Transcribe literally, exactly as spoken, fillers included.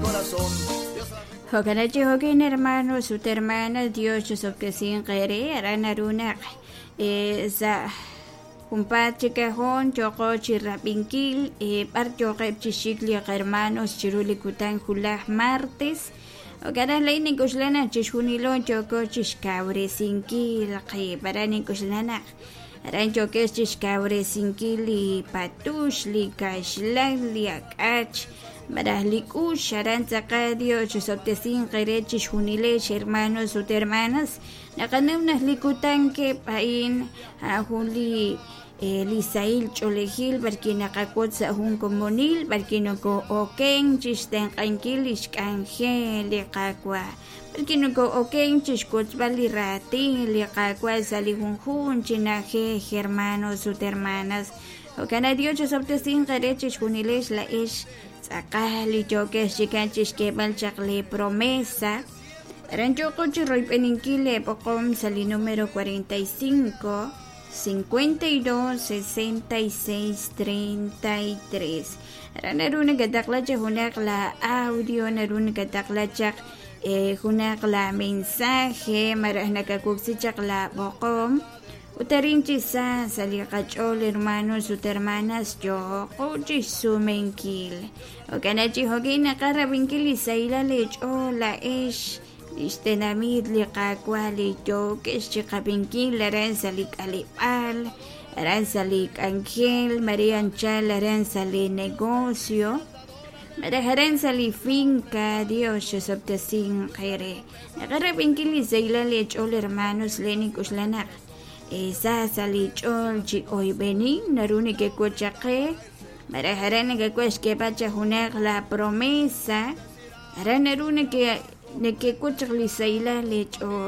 corazón. Dios la Jo'kan chi jo'kin hermanos ut hermanas, Dios chisob'tesinq eere aran naru naq eh, sa' junpaat chi kajon choqo chi rab'inkil eh, b'ar yoqeb' chi xik li hermanos chiru li kutan julaj martes. Jo'kan lay nink'uxla naq chixjunilo yoko chixkawresinkil qib', aran nink'uxla naq aran yokex chixkawresinkil li patux, li kaxlan, li ak'ach, maraj li k'ux, aran tz'aqal Dios chisob'tesinq eere chixjunilex hermanos ut hermanas. Naqanaw naq li kutan keb' a'in a'an jun li eh, li sahil ch'oolejil b'arki naqawotz sa' jun komonil b'arki noko'oken chixtenq'ankil li xk'anjel li Qaawa', b'arki noko'oken chixwotzb'al li raatin li Qaawa' sa' li junjun chi na'ajej hermanos ut hermanas. Jo'kan Dios chisob'tesinq eere chixjunilex la'ex tz'aqal li yokex chikan chixk'eeb'al chaq li promesa. Aran yoko chi royb'eninkil leeb'oqom sa' li número cuarenta y cinco, cincuenta y dos, sesenta y seis, treinta y tres. Aran naru nakataqla chaq junaq la audio, naru nakataqla chaq eh, junaq la mensaje, maraj nakakuksi chaq la b'oqom. Ut arin chi sa sa' li qach'ool hermanos ut hermanas yoko chixsumenkil. Jo'kan chi jo'kin naqarab'inkil li sahilal leech'ool la'ex lix tenamit li Qaawa' li yokex chiqab'inkil aran sa' li k'aleb'aal, aran sa' li k'anjel, Maria anchal aran sa' li negocio, maraj aran sa' li finca. Dios chisob'tesinq eere. Naqarab'inkil li sahilal leech'ool hermanos le nink'uxla naq eh, sa sa' li ch'ool chi oyb'enin naru nekewotz chaq qe, maraj aran nekewotz xk'eeb'al chaq junaq la promesa, aran naru neke nekewotz chaq li sahilal leech'ool.